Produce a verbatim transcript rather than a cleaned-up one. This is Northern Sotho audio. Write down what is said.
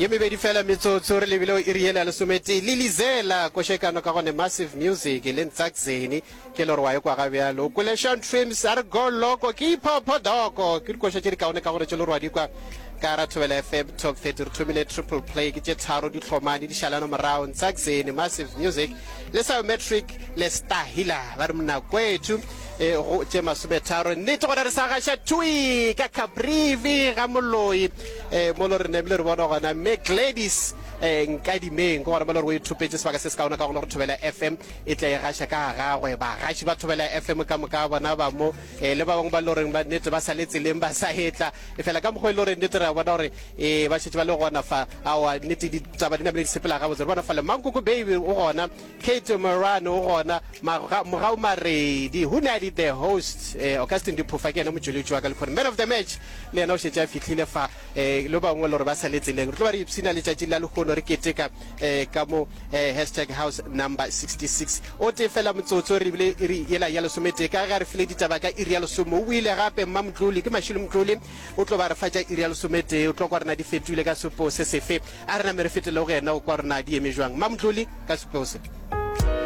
Ye mebedi fela metsotso re lebile iri yela ya lesometee. Lilizela košekano ka gone Massive Music le Ntsakzeni ke le gore wa e kwa ga bjalo. O kwele Sean Trims a re go loko ke iphopho doko. Ke dikoša tše di kaone ka gore tše le gore wa di kwa ka ra Thobela F M Top thirty. Re thomile triple play, ke tše tharo di hlomane di šalana morago, Ntsakzeni, Massive Music le Biometric le Stahila ba re mnakwethu e go tše masometharo. Nnete gore re sa gaša thui ka Caprivi ga Moloi um mo lo re namile re bona gona mme Gladys um Nkadimeng, ke gona mo le gore o ithopetše sebaka se se kaone ka gona gore Thobela F M e tla e gaša ka gagwe. Bagaši ba Thobela F M ka moka bona ba mo um le ba bangwe ba le goreng ba nnete ba sa le tseleng ba sa etla, e fela ka mokgwa e le gore nnete re a bona gore um ba šetše ba le gona fa. Aowa, nnete ditaba di namile di sepela gabotse. Re bona fa le Mankoko Baby o gona, Kate Morano o gona, Mogau Maredi, Hunadi the host, eh, Augustin Diphofa ke yena motšweletši wa ka lekhone, man of the match le yena o šetše a fihlile fa um le bangwe le gore ba sa le tseleng. Re tlo ba re ipshina letšatši la lehono, re keteka um ka mo um hashtag house number sixty-six. O tee fela motsotso re ebile iri yela ya lesometee, ka ge a re file ditaba ka iri ya lesome. O ile gape mma Motloli, ke Mašilo Motloli, o tlo ba re fa tša iri ya lesometee. O tlo kwa rena di fetoile ka sepo se sefe. A re name re fetele go yena o kwa rena di eme jwang, mma Motloli, ka sepeo se.